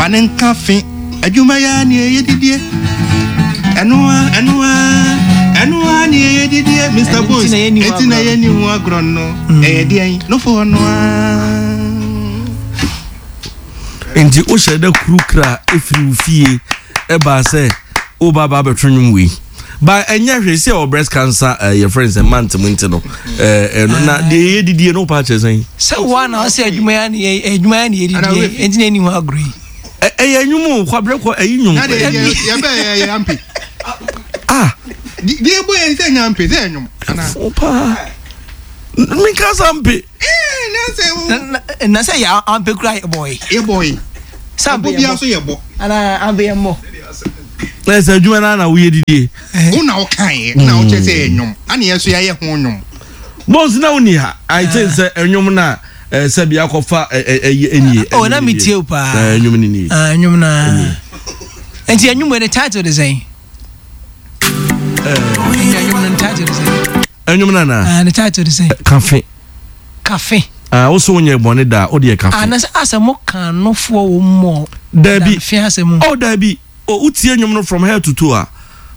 ne nka fe. Adwuma yi ara ne ɛyɛ didie. Ɛno ara, ɛno ara, ɛno ara ne ɛyɛ didie. Mr. Bones, enti na yɛnni ho agorɔ no. Ɛyɛ deɛn? Nofoɔ no ara. Nti wohyɛ da kuru kra firi wo fie ɛbaa sɛ woba aba abɛto nnwom wei ba ɛnyɛ hwee sɛ ɛwɔ breast cancer eh, yɛ friends eh, month mu nti no eh, eh, no, na deɛ yɛ didie no wopa akyerɛ sɛn sɛ woa na ɔsɛ adwuma ya ne yɛ adwuma ya ne yɛ didie nti na ɛni ho agorɔ yi ɛyɛ nnwom o kwabrɛ kɔ ɛyi nnwom Na deɛ yɛ yɛbɛ yɛ yɛ ampe. ah Deɛ ɛbɔ yɛn sɛ nya ampe sɛ ɛnwom. Ana. fo paa menka sa mpe Na sɛ yɛ ampe kura yɛ bɔe. Yɛ bɔe. Sɛ ampe yɛ bɔ. so yɛ bɔ. Ana ampe yɛ mmɔ. Na sɛ adwuma no na woyɛ didie. Wo na woka yɛ na wokyɛ sɛ yɛ nnwom. Ana yɛ so yɛayɛ ho nnwom. Bones na woni ha. I think sɛ nnwom na sɛ bi akɔfa ɛyɛ ɛnie. Oh na me tie paa. Nnwom no nie. Nnwom na. Nti nnwom ne title de sɛn? Ɛnwom no anaa? Ah, ne title de sɛn? Kafe. Kafe. Ah, wo so wonyɛ bɔne da a, wo deɛ kafe. Ah, na sɛ asɛ mo kan nofoɔ wɔ mu mɔ. Daabi. Fe asɛ mu. Oh, daabi. Oh, wotie nnwom no from head to toe a,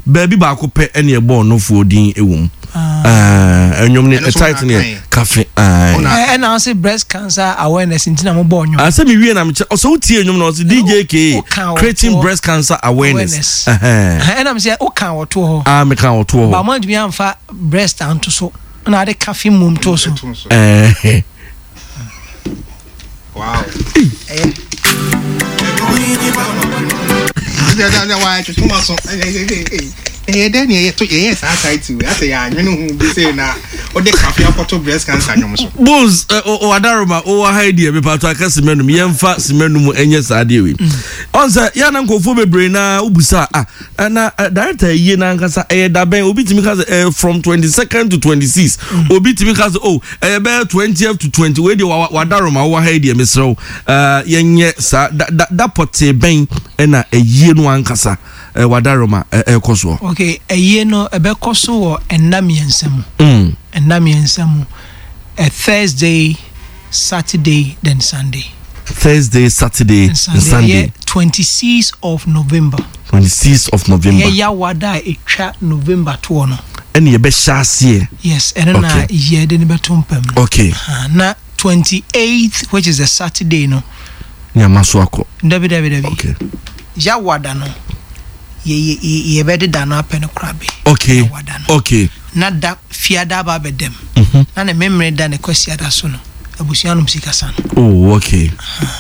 baabi baako pɛ ɛne ɛbɔɔ nofoɔ din wɔ mu. Ah, ɛnwom ne title ne yɛ kafe. Ɛna ɔse breast cancer awareness nti na mo bɔɔ nnwom. Ah, sɛ me wie na mekyɛ ɔsɛ wotie nnwom na ɔse DJ K creating breast cancer awareness. Ɛna me sɛ woka wɔtoɔ hɔ. Ah, meka wɔtoɔ hɔ. Ba mo antumi amfa breast anto so na ade kafe mmom to so. Wow. Ɛyɛ dɛ ne yɛyɛ to yɛyɛ saa title asɛ yɛ anwene ho bi sɛ na wode kafe akɔto breast cancer nwom so. Bones wadaroma wowɔ ha yi deɛ mepatɔ aka sima num yɛmfa sima num ɛnyɛ saa deɛ wei. Ɔn sɛ yɛ na nkurɔfoɔ bebree na wobusa ah na director yie na ankasa ɛyɛ dabɛn obi tumi ka sɛ ɛyɛ from 22nd to 26 obi tumi ka sɛ oh ɛyɛ bɛyɛ 20th to 20 wei deɛ wadaroma wowɔ ha yi deɛ mesrɛ wo yɛnyɛ saa da da da pɔtee bɛn ɛna ɛyie no ankasa wadaroma ɛkɔ soɔ. Okay ɛyie no ɛbɛkɔ so wɔ nna mmiɛnsa mu. Nna mmiɛnsa mu Thursday, Saturday then Sunday. Thursday, Saturday and Sunday. Sunday. Ɛyɛ 26 of November. 26 of November. Ɛyɛ Yawada a ɛtwa November toɔ no. Ɛne yɛbɛhyɛ aseɛ. Yes, ɛno na yɛde no bɛto mpam no. Okay. Na 28th which is the Saturday no. Ní ama so akɔ. Dabi dabi dabi. Okay. Yawada no yɛ yɛ yɛbɛde da no apɛ no korabe. Okay. Yawada no. Okay. Na da fiada aba abɛdam. Na ne memere da ne kwasiada so no abusua nom sika sa no. Oh okay.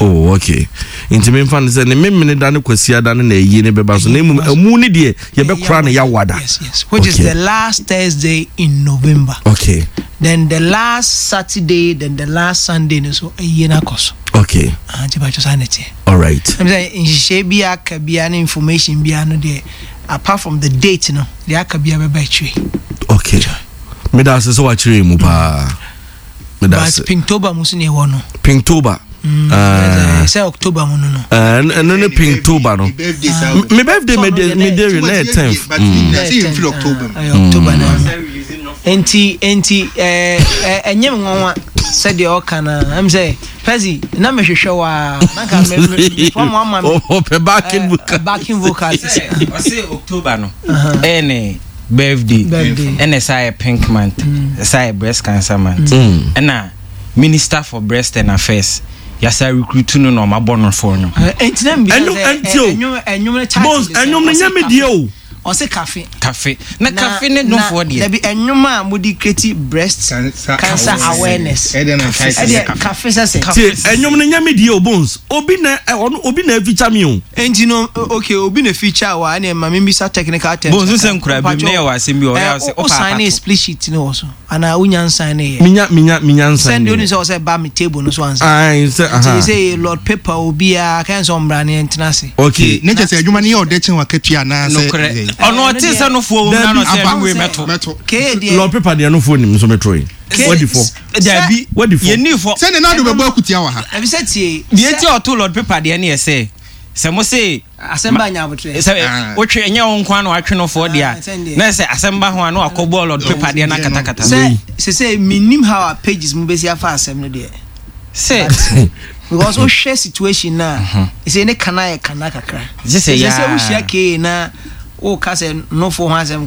Oh okay. Nti memfa no sɛ ne memene da ne kwasiada no na ayie no bɛba so na mmom amu ne deɛ yɛbɛkora no yawada. Yes yes. Which is the last Thursday in November. Okay. Then the last Saturday then the last Sunday no so ayie no akɔ so. Okay. Ah nti bàtchɛ saa na ɛteɛ. All right. Ɛm sɛ nhyehyɛe bi aka biara ne information biara no deɛ apart from the date no deɛ aka biara bɛba akyire. Okay. Meda ase sɛ wakyerɛ mu paa. Meda ase. But Pinktober mu so na ɛwɔ no. Pinktober. Mm, sɛ October mu no no. Ɛno ne Pinktober no. Me birthday me de me de na yɛ 10th. October na. Enti enti ɛɛ ɛnyɛ me nwanwa sɛdeɛ ɔka na ɛm sɛ Pɛsi na mehwehwɛ wa na nka me me fɔ mo ama me. Ɔpɛ backing vocal. Backing vocal. Ɔsɛ October no ɛyɛ ne birthday ɛna ɛsa yɛ pink month ɛsa yɛ breast cancer month ɛna minister for breast and affairs yasa recruit no na ɔma bɔ no fɔ no. Ɛntina mi bisa sɛ ɛnwom ɛnwom ne title de sɛ ɛnwom ne nyɛ mi deɛ o. Ɔse kafe. Kafe na kafe ne nofoɔ deɛ. Dabi ɛnwom a mo de create breast cancer awareness. Ɛdeɛ kafe sɛ sɛ. Tie ɛnwom no nyɛ me deɛ o Bones obi na ɔno obi na feature me o. Enti no okay obi na feature wo a ɛneɛ ma me mbisa technical terms Bones wo sɛ nkura bi mu na yɛ wɔ asɛm bi wɔ hɔ yɛ a wo sɛ wo Wo paapa sign to. split sheet no wɔ so anaa wo nya nsign yɛ. Menya menya menya nsign Sɛn deɛ yɛ. wonim sɛ ɔsɛ ba me table no so ansa. Ae sɛ Nti aha. sɛ Lord paper obiara kɛn sɛ ɔmmra ne yɛntena ase. Okay. Ne kyɛ sɛ adwuma no yɛ ɔdɛ kyɛn wakatua anaasɛ Nokorɛ. dɛn? Ɔno ɔtee sɛ nofoɔ wɔ mu na na ɔsɛ Dabi, ɛno wei mɛto. Mɛto. Kee deɛ. Lord paper deɛ nofoɔ nim nso mɛto yi. Kee Wadi fɔ. Dabi, Wadi fɔ. yɛnni fɔ. Sɛ ne nan do bɛbɔ akutia wɔ ha. Ɛbi sɛ tie. Deɛ nti a ɔto Lord paper deɛ ne yɛ sɛ, sɛ mo se. Asɛm ba nya abotrɛ. Sɛ wotwe ɛnyɛ wo nko ara na watwe no foɔ deɛ Ah, a, sɛn deɛ. na sɛ asɛm ba ho a na wakɔ bɔ Lord paper deɛ no akatakata. Sɛ sese menim how a pages mu bɛsi afa asɛm no deɛ. Sɛ. Because wohwɛ situation na ɛsɛ ne kana yɛ kana kakra. Gye sɛ Ɛsɛ sɛ yaa. wohyia kee na woka sɛ nofo ho asɛm.